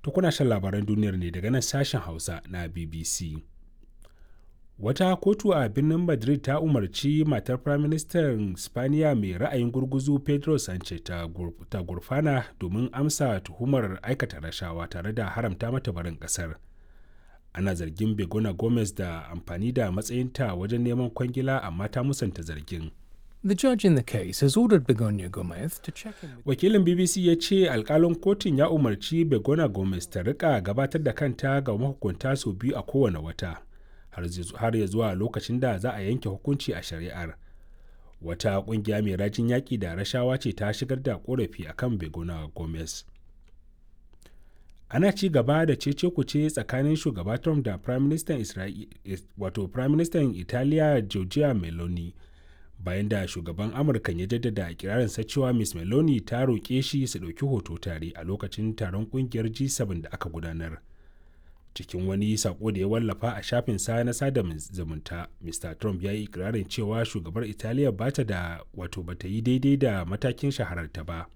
To kuna shan labaran duniyar ne daga nan sashen Hausa na BBC. Wata kotu a birnin Madrid ta umarci matar Firaministan Spaniya mai ra'ayin gurguzu Pedro Sanchez ta gurfana domin amsa tuhumar aikata rashawa tare da haramta mata barin kasar. Ana zargin Begona Gomez da amfani da matsayinta wajen neman kwangila, amma ta musanta zargin. The judge in the case has ordered Begonia Gomez to check in with Wakilin BBC ya ce alkalin kotun ya umarci Begona Gomez ta rika gabatar da kanta ga mahukunta sau biyu a kowane wata, har ya zuwa lokacin da za a yanke hukunci a shari'ar. Wata kungiya mai rajin yaƙi da rashawa ce ta shigar da korafi akan Begona Gomez. Ana ci gaba da cece kuce tsakanin shugaba Trump da Prime Minister wato Prime Minister Italiya Giorgia Meloni, bayan da shugaban Amurka ya jaddada ikirarinsa cewa Ms Meloni ta roƙe shi su ɗauki hoto tare a lokacin taron ƙungiyar G7 da aka gudanar. Cikin wani sako da ya wallafa a shafin sa na sada zumunta, Mr Trump ya yi ikirarin cewa shugabar Italiya ba ta da wato ba ta yi daidai da matakin shahararta ba.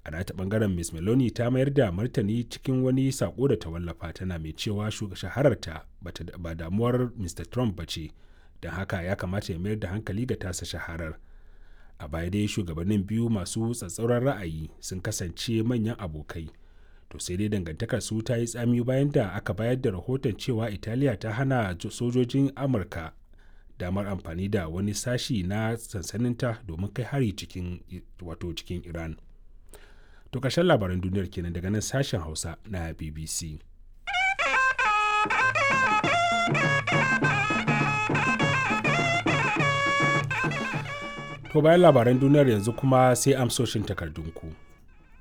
A nata bangaren, Ms Meloni ta mayar da martani cikin wani sako da ta wallafa, tana mai cewa shahararta ba damuwar Mr Trump ba ce, don haka ya kamata ya mayar da hankali ga tasa shaharar. A baya dai shugabannin biyu masu tsatsauran ra'ayi sun kasance manyan abokai. To sai dai dangantakar su ta yi tsami bayan da aka bayar da rahoton cewa Italiya ta hana sojojin Amurka damar amfani da wani sashi na sansaninta domin kai hari cikin wato cikin Iran. To ƙarshen labaran duniyar kenan daga nan sashen Hausa na BBC. To bayan labaran duniyar, yanzu kuma sai amsoshin takardunku.